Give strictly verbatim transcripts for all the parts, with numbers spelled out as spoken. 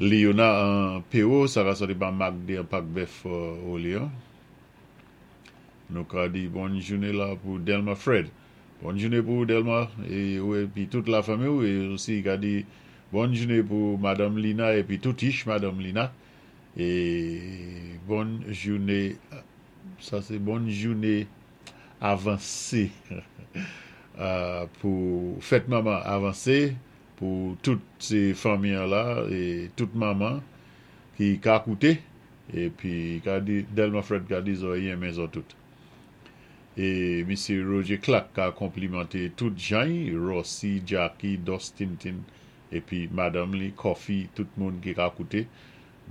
Leona an P O, sa ka sòti pa Magde an Pak Bèf Orléans. Nou ka di bòn jouné la pou Delma Fred. Bòn jouné pou Delma é, épi tout lafanmi. É osi ka di bòn jouné pou Madanm Lina épi tout ich Madanm Lina. É bòn jouné, sa sé bòn jouné avansé pou fèt manman avansé pou tout sé fanmi la é tout manman ki ka kouté épi ka di Delma Fred ka di zo yenmen zo tout. É Misyé Roger Clark ka konplimanté tout jan, Rossi, Jackie, Dustin Tin épi madanm li, Coffee, tout moun ki ka kouté.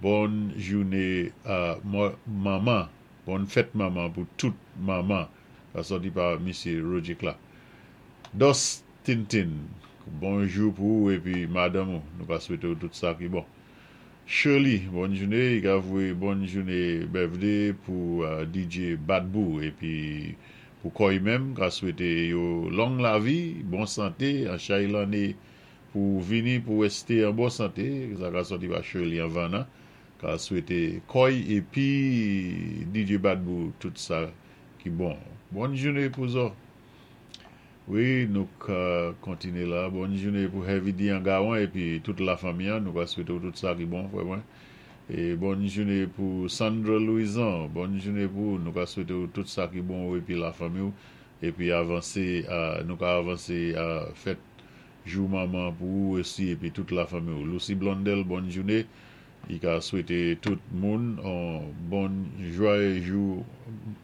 Bòn jouné manman, bòn fèt manman pou tout manman. Sa sòti pa Misyé Roger Clark. Dustin Tin, bonjou pou ou épi madanm ou, nou ka swété ou tout sa ki bon. Shirley, bòn jouné, i ka voyé bòn jouné birthday pou D J Badbou épi pou kò'y menm, ka swété yo long lavi, bon santé, an chay lanné pou vini pou wèsté an bon santé, sa ka sòti pa Shirley an Vannan, ka swété kò'y épi D J Badbou tout sa ki bon. Bòn jouné pou zo. Wi, nou ka kontiné la. Bòn jouné pou Heavy D an Gawan épi tout lafanmi. Nou ka swété tout sa ki bon, frè mwen. É bòn jouné pou Sandra Louison. Bòn jouné pou nou ka swété tout sa ki bon épi lafanmi. Épi avansé, nou ka avansé a fèt jou manman pou ou osi épi tout lafanmi. Lucy Blondel, bòn jouné. I ka swété tout moun an bon jwayé jou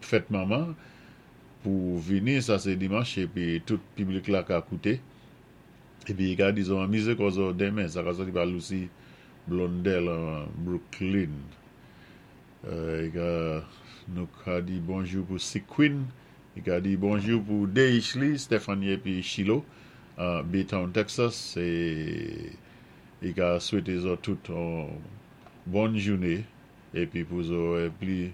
fèt manman pou vini, sa sé dimanch, épi tout piblik la ka kouté. Épi i ka di zo anmizé kò zo denmen, sa ka sòti pa Lucy Blondel an Brooklyn. I ka nou ka di bonjou pou Sick Queen, i ka di bonjou pou Deishli, Stephanie épi Chilo, Baytown, Texas, é i ka swété zo tout an bòn jouné, épi pou zo pli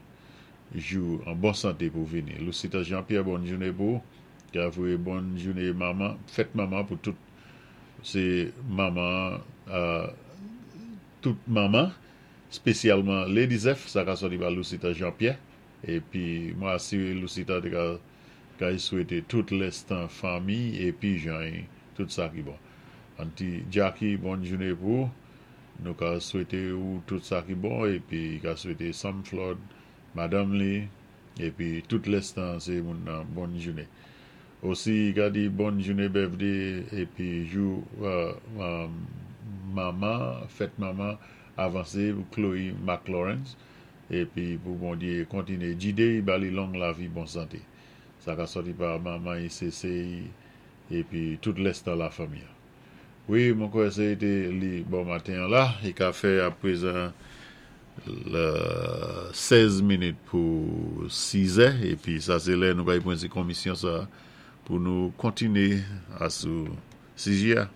jou an bon santé pou vini. Lucita Jean-Pierre, bòn jouné pou, ka voyé bòn jouné manman, fèt manman pou tout sé manman, tout manman, spésyalman Lady Zeph, sa ka sòti pa Lucita Jean-Pierre, épi mwen asiré Lucita té ka ka swété tout lèstan fanmi épi jan tout sa ki bon. Auntie Jackie, bòn jouné pou, nou ka swété ou tout sa ki bon, épi ka swété Sam Flood, madanm li, épi tout lèstan sé moun nan bòn jouné. Osi ka di bòn jouné birthday épi jou manman, fèt manman avansé pou Chloe McLawrence, épi pou Bondyé kontiné jidé, ba li long lavi, bon santé. Sa ka sòti pa manman I C C épi tout lèstan lafanmi. Wi, mwen kwè sé té li bon maten la, i ka fè aprezan lè sèz minit pou sis è, épi sa sé lè nou pay pran ti komisyon sa pou nou kontiné asou C J A.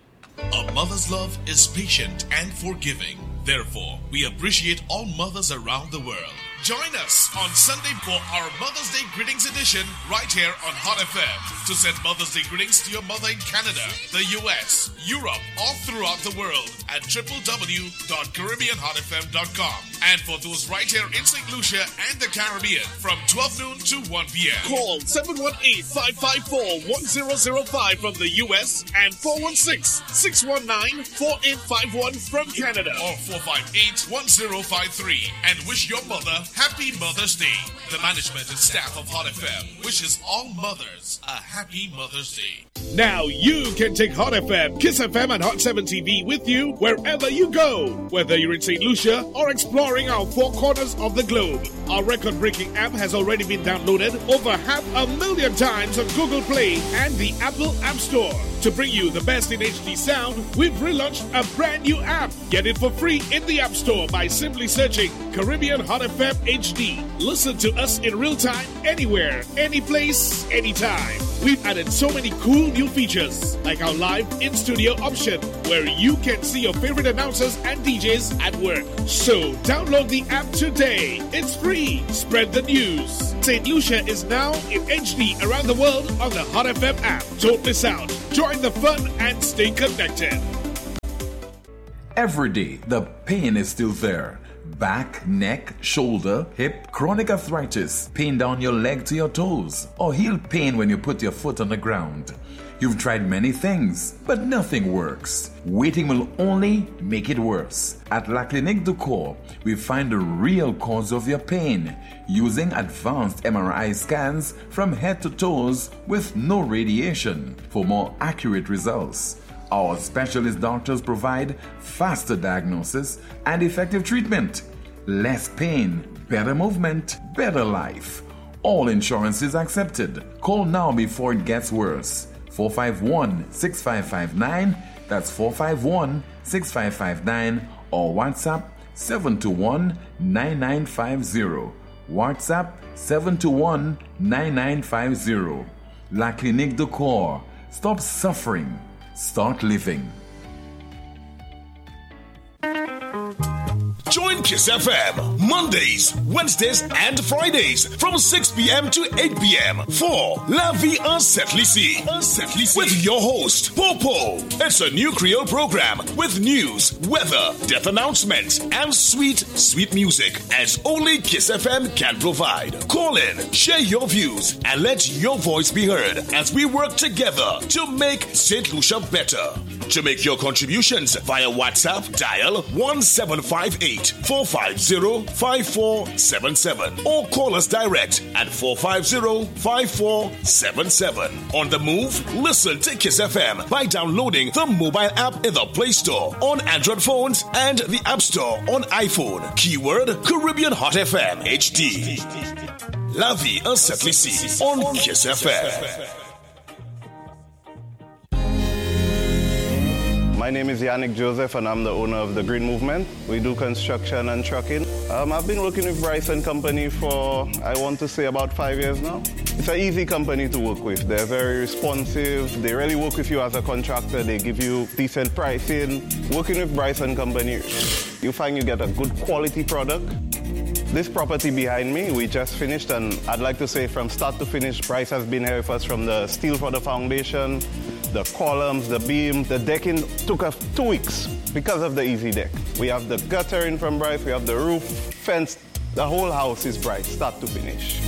A mother's love is patient and forgiving. Therefore, we appreciate all mothers around the world. Join us on Sunday for our Mother's Day Greetings edition right here on Hot F M. To send Mother's Day greetings to your mother in Canada, the U S, Europe, or throughout the world at w w w dot caribbean hot f m dot com. And for those right here in Saint Lucia and the Caribbean from twelve noon to one p m. Call seven one eight, five five four, one zero zero five from the U S and four one six, six one nine, four eight five one from Canada or four five eight, one zero five three and wish your mother Happy Mother's Day. The management and staff of Hot F M wishes all mothers a happy Mother's Day. Now you can take Hot F M, Kiss F M, and Hot seven T V with you wherever you go. Whether you're in Saint Lucia or exploring our four corners of the globe. Our record breaking app has already been downloaded over half a million times on Google Play and the Apple App Store. To bring you the best in H D sound, we've relaunched a brand new app. Get it for free in the App Store by simply searching Caribbean Hot F M H D. Listen to us in real time, anywhere, any place, anytime. We've added so many cool new features, like our live in studio option, where you can see your favorite announcers and D Js at work. So download the app today. It's free. Spread the news. Saint Lucia is now in H D around the world on the Hot F M app. Don't miss out. Join the fun and stay connected. every day, the pain is still there. Back, neck, shoulder, hip, chronic arthritis, pain down your leg to your toes, or heel pain when you put your foot on the ground. You've tried many things, but nothing works. Waiting will only make it worse. At La Clinique du Corps, we find the real cause of your pain using advanced M R I scans from head to toes with no radiation for more accurate results. Our specialist doctors provide faster diagnosis and effective treatment. Less pain, better movement, better life. All insurances accepted. Call now before it gets worse. four five one, six five five nine. That's four five one, six five five nine or WhatsApp seven two one, nine nine five zero. WhatsApp seven two one, nine nine five zero. La Clinique du Corps. Stop suffering. Start living. Join Kiss F M Mondays, Wednesdays, and Fridays from six p m to eight p m for La Vie en Sent Lisi with your host, Popo. It's a new Creole program with news, weather, death announcements, and sweet, sweet music as only Kiss F M can provide. Call in, share your views, and let your voice be heard as we work together to make Saint Lucia better. To make your contributions via WhatsApp, dial one seven five eight, four five zero, five four seven seven or call us direct at four five zero, five four seven seven. On the move, listen to Kiss F M by downloading the mobile app in the Play Store on Android phones and the App Store on iPhone. Keyword Caribbean Hot F M H D. La Vie en Sent Lisi on Kiss F M. My name is Yannick Joseph and I'm the owner of The Green Movement. We do construction and trucking. Um, I've been working with Bryce and Company for, I want to say, about five years now. It's an easy company to work with. They're very responsive. They really work with you as a contractor. They give you decent pricing. Working with Bryce and Company, you find you get a good quality product. This property behind me, we just finished, and I'd like to say from start to finish, Bryce has been here with us from the steel for the foundation, the columns, the beam, the decking took us two weeks because of the easy deck. We have the guttering from Bryce, we have the roof, fence, the whole house is Bryce, start to finish.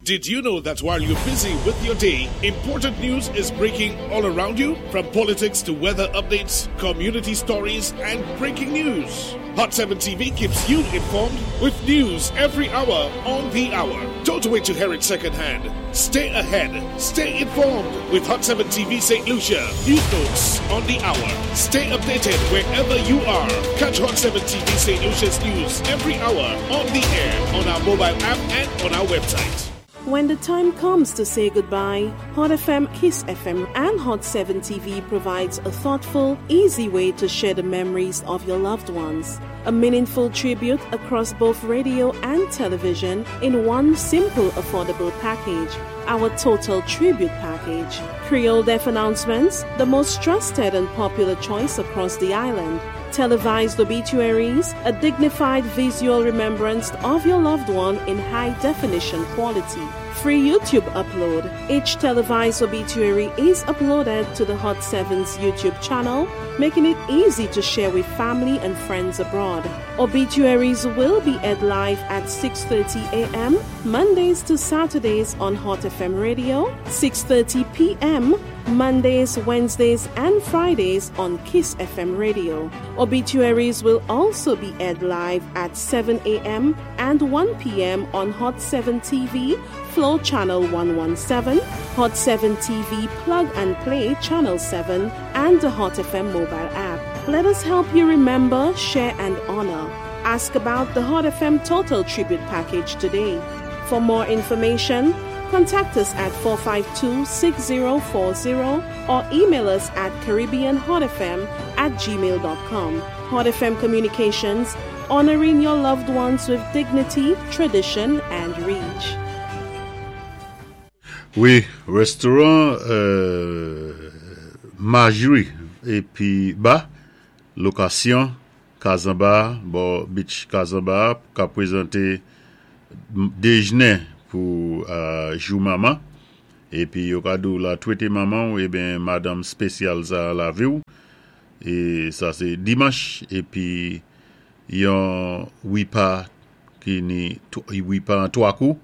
Did you know that while you're busy with your day, important news is breaking all around you? From politics to weather updates, community stories, and breaking news. Hot seven T V keeps you informed with news every hour on the hour. Don't wait to hear it secondhand. Stay ahead. Stay informed with Hot seven T V Saint Lucia. News notes on the hour. Stay updated wherever you are. Catch Hot seven T V Saint Lucia's news every hour on the air, on our mobile app, and on our website. When the time comes to say goodbye, Hot F M, Kiss F M, and Hot seven T V provides a thoughtful, easy way to share the memories of your loved ones. A meaningful tribute across both radio and television in one simple, affordable package. Our Total Tribute Package. Creole Death Announcements, the most trusted and popular choice across the island. Televised obituaries, a dignified visual remembrance of your loved one in high definition quality. Free YouTube upload. Each televised obituary is uploaded to the Hot seven's YouTube channel, making it easy to share with family and friends abroad. Obituaries will be aired live at six thirty a m. Mondays to Saturdays on Hot F M Radio, six thirty p m. Mondays, Wednesdays, and Fridays on Kiss F M Radio. Obituaries will also be aired live at seven a m and one p m on Hot seven T V, Flow Channel one one seven, Hot seven T V Plug and Play Channel seven, and the Hot F M mobile app. Let us help you remember, share, and honor. Ask about the Hot F M Total Tribute Package today. For more information, contact us at four five two, six zero four zero or email us at caribbeanhotfm at gmail dot com. Hot F M Communications, honoring your loved ones with dignity, tradition, and reach. Wi, restoran euh, Marjorie épi ba, lokasyon Kazamba, bò beach Kazamba, ka pwézanté déjné pou euh, jou manman. Épi yo ka di ou la twété manman ou ébyen madanm spésyal sa lavi ou. É sa sé dimanch épi yon wépa ki ni wépa an twa kou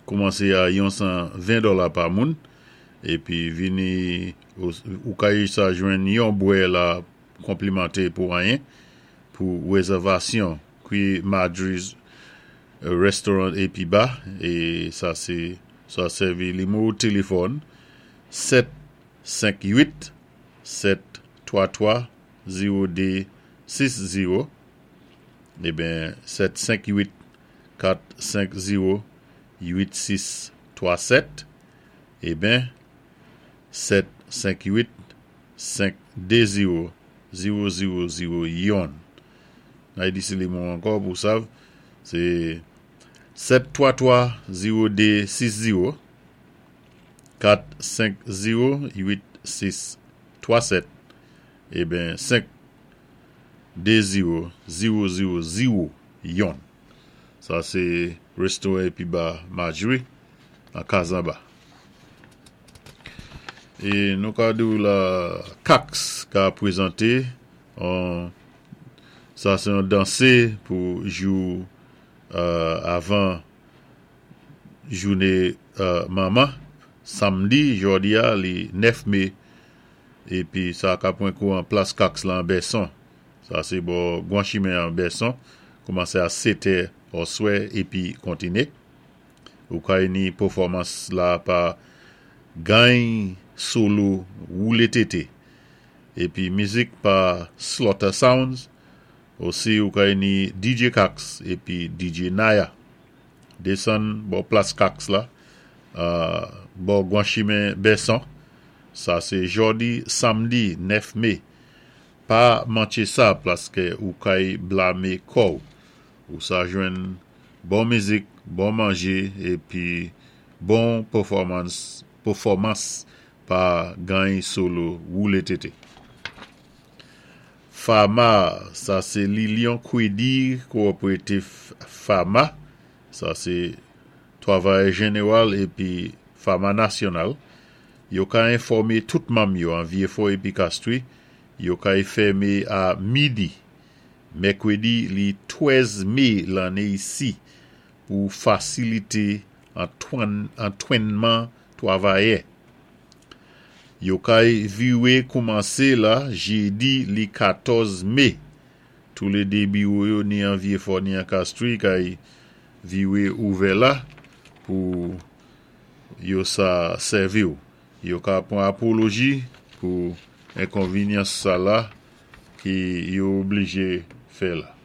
koumansé a yon san ven dola pa moun épi vini ou kay sa jwenn yon bwè la konplimantè pou anyen pou wézèvasyon ki Marjorie's Restaurant épi Bar é sa sé sa sèvi nimewo téléfòn sèt senk uit sèt twa twa zewo dé sis zewo eben sèt senk uit kat senk zewo uit sis twa sèt eben sèt senk uit senk dé zewo zewo zewo zewo youn. Ay di sé nimewo ankò pou sav sé sèt twa twa zewo dé sis zewo kat senk zewo uit sis twa sèt eben senk dé zewo zewo zewo zewo youn. Sa sé restoran épi bar Marjorie an Kazamba. É nou ka di la Cax ka pwézanté an sa sé yon dansé pou jou euh, avan jouné euh, manman samdi jòdi a li nèf mé épi sa ka pwan kou an plas Cax la an Bèson. Sa sé bò gwan chimen an Bèson koumansé a sèt è oswè épi kontiné. Ou kay ni pèfòmans la pa Gany Solo Woulé Tété. Épi mizik pa Slaughter Sounds. Osi ou kay ni D J Cax épi D J Naya. Désann bò plas Cax la, euh, bò gwan chimen Bèson. Sa sé jòdi samdi nèf mé. Pa manké sa paské ou kay blamé kò'w. Ou sa jwenn bon mizik, bon manjé épi bon pèfòmans pèfòmans pa Gany Solo Woulé Tété. Fama, sa sé Lilion Kwedi Cooperative Fama, sa sé Travay Jeneral épi Fama Nasyonal. Yo ka enfòmé tout manm yo an Vyéfò épi Castries, yo kay fèmé a midi. Mèkwédi li twèz mé lanné isi pou fasilité antwénman twavayè. Yo kay viwé koumansé la jédi li katòz mé. Tou lé dé biwo yo ni an Vyéfò ni an Castries kay viwé ouvè la pou yo sa sèvi ou. Yo ka pwan apoloji pou enkonvényans sa la ki yo oblijé fè la.